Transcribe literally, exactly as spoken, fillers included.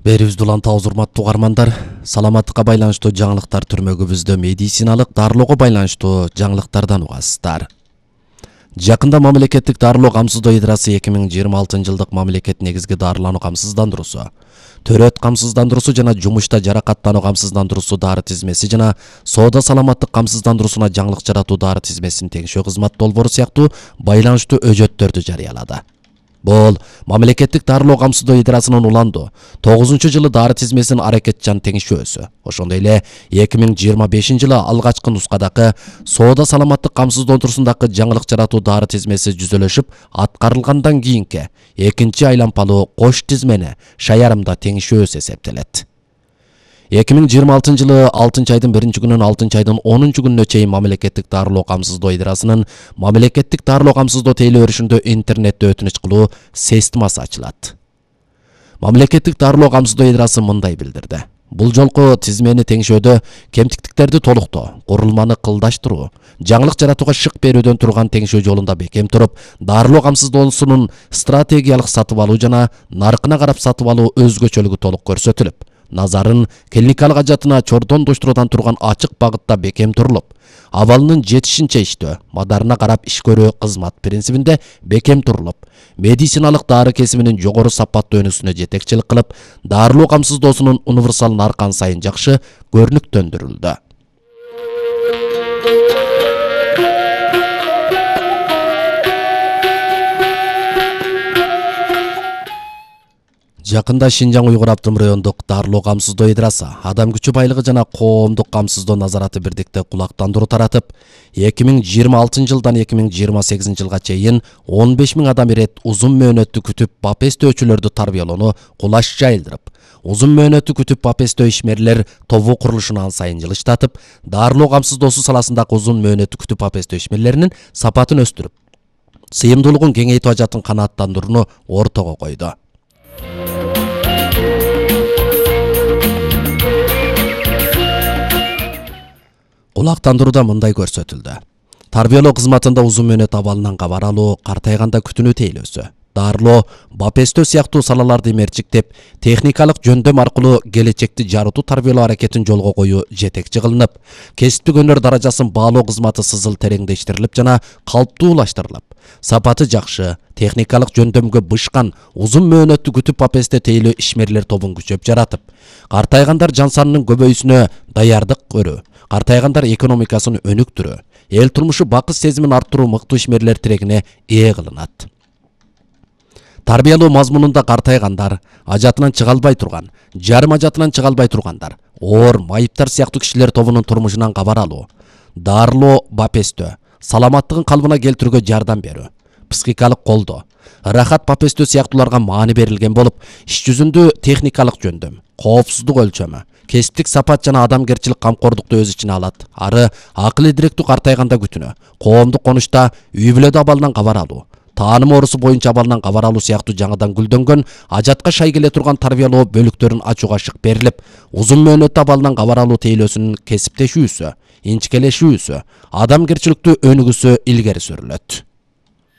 Берибизди улантабыз, урматтуу угармандар. Саламаттыкка байланыштуу жаңылыктар түрмөгүбүздө медициналык дарылоого байланыштуу жаңылыктардан угасыздар. Жакында мамлекеттик дарылоо камсыздоо идрасы эки миң жыйырма алтынчы жылдык мамлекет негизги дарылануу камсыздандыруусу, төрөт камсыздандыруусу жана жумушта жаракаттануу камсыздандыруусу дары тизмеси жана соода саламаттык камсыздандыруусуна жаңылык жаратуу дары тизмесин теңшөө кызмат долбоору сыяктуу байланыштуу өжөттөрдү жарыялады. Бул мамлекеттик дарылоо камсыздоо идрасынын уланду тогузунчу жылы дары тизмесинин аракетчан теңшөөсү. Ошондой эле эки миң жыйырма бешинчи жылы алгачкы нускадагы соода саламаттык камсыздандыруусундагы жаңылык жаратуу дары тизмеси жүзөлөшүп аткарылгандан кийинки экинчи айлампалуу кош тизмени шаярымда теңшөөсү эсептелет. эки миң жыйырма алтынчы жылы алтынчы айдын биринчи күнүнөн алтынчы айдын онунчу күнүнө чейин мамлекеттик дарылоо камсыздоо идрасынын мамлекеттик дарылоо камсыздоо тейлөө өрүшүндө интернетте өтүнүч кылуу системасы ачылат. Мамлекеттик дарылоо камсыздоо идрасы мындай билдирди. Бул жолку тизмени теңшөөдө кемтиктиктерди толуктоо, курулманы кылдаштыруу, жаңылык жаратууга шык берүүдөн турган теңшөө жолунда бекем туруп, дарылоо камсыздоосунун стратегиялык сатып алуу жана наркына карап сатып алуу өзгөчөлүгү толук көрсөтүлүп, назарын клиникалык ажатына чордондоштурудан турган ачык багытта бекем турулуп, абалынын жетишинче иштөө, мадарына карап иш көрүү кызмат принцибинде бекем турулуп, медициналык дары кесибинин жогору сапаттуу өнүгүүсүнө жетекчилик кылып, дарылоо камсыздоосунун универсал наркан сайын жакшы көрүнүктөндүрүлдү. Жакында Шинжаң Уйгур автоном райондук дарылоо камсыздоо идрасы адам күчү байлыгы жана коомдук камсыздоо назараты бирдикте кулактандыруу таратып, эки миң жыйырма алтынчы жылдан эки миң жыйырма сегизинчи жылга чейин он беш миң адам ирет узун мөөнөттү күтүп бапестөөчүлөрдү тарбиялоону кулаш жайылдырып, узун мөөнөттү күтүп бапестөө ишмерлер тобу курулушун ан сайын жылыштатып, дарылоо камсыздоосу саласындагы узун мөөнөттү күтүп бапестөө ишмерлеринин сапатын өстүрүп, сыйымдуулугун кеңейтүү ажатын канааттандырууну ортого койду. Кулактандырууда мындай көрсөтүлдү. Тарбиялоо кызматында узун мөөнөт абалынан кабар алуу, картайганда күтүнүү тейлөөсү, дарылоо, бапестөө сыяктуу салаларды мерчиктеп, техникалык жөндөм аркылуу келечекти жарытуу тарбиялоо аракетин жолго коюу жетекчи кылынып, кесиптик өнөр даражасын баалоо кызматы сызыл тереңдештирилип жана калптуулаштырылып, сапаты жакшы, техникалык жөндөмгө бышкан узун мөөнөттү күтүп бапесте тейлөө ишмерлер тобун күчөп жаратып, картайгандар жан санынын көбөйүүсүнө даярдык көрүү, картайгандар экономикасын өнүктүрүү, эл турмушу бакыт сезимин арттыруу мыктуу ишмерлер тирегине ээ кылынат. Тарбиялоо мазмунунда картайгандар, ажатынан чыга албай турган, жарым ажатынан чыга албай тургандар, оор майыптар сыяктуу кишилер тобунун турмушунан кабар алуу, дарылоо, бапестөө, саламаттыгын калыбына келтирүүгө жардам берүү, психикалык колдоо, рахат бапестөө сыяктууларга маани берилген болуп, иш жүзүндө техникалык жөндөм, коопсуздук өлчөмү, кесиптик сапат жана адамгерчилик камкордукту өз ичине алат. Ары акыл идиректүү картайганда күтүнө, коомдук конушта үй бүлөдө абалынан кабар алуу, тааным оорусу боюнча абалынан кабар алуу сыяктуу жаңыдан гүлдөнгөн, ажатка шай келе турган тарбиялоо бөлүктөрүн ачууга шык берилип, узун мөөнөттө абалынан кабар алуу тейлөөсүнүн кесиптешүүсү, инчикелешүүсү, адамгерчиликтүү өнүгүүсү илгери сүрүлөт.